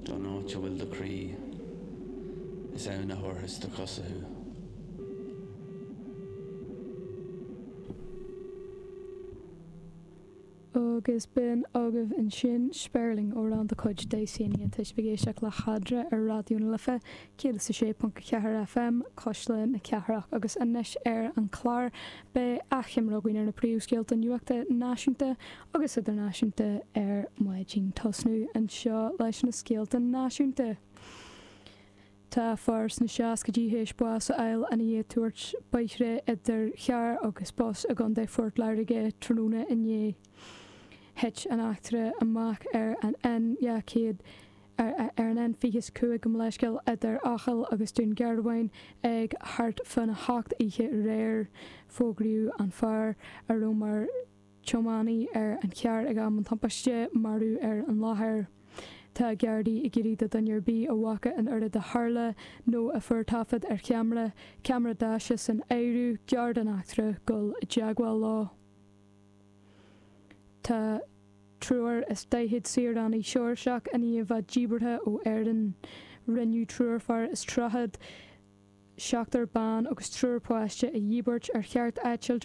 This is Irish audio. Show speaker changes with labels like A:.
A: Don áit a bhfuil do chroí, is ann a thabharfas do chosa thú.
B: Agus b'in agaibh ansin Spéirling, amhrán de chuid Daysania. Tá sibh ag éisteacht le hEadra ar Raidió na Life 106.4 FM, Cuisle na Cathrach. Agus anois ar an chlár, beidh achoimre againn ar na príomhscéalta nuachta náisiúnta agus idirnáisiúnta ar maidin. Tosnú anseo leis na scéalta náisiúnta. Tá fear sna seascaidí théis bás a fháil ina dhiaidh tuairt bóithre idir charr agus bus i gContae Phort Láirge tráthnóna inné. Thit an eachtra amach ar an N200 ar an N25 gabh mo leithscéal idir Eochaill agus Dún Garbháin ag thart fána hocht oíche aréir. Fógraíodh an fear, a raibh mar tiománaí ar an charr ag am an tubaiste, marbh ar an láthair. Tá Gardaí ag iarraidh do dhuine ar bith a bhfaca an rud a tharla nó a fuair taifead ar cheamara, ceamara daise san áireamh, gar don eachtra, dul i dteagmháil leo. Tá 43 saoránaigh Seoirseach i ndiaidh a bheith díbeartha ó Éirinn. Rinneadh triúr fear is tríochad, seachtar ban agus triúr páiste a dhíbirt ar cheart eitilt.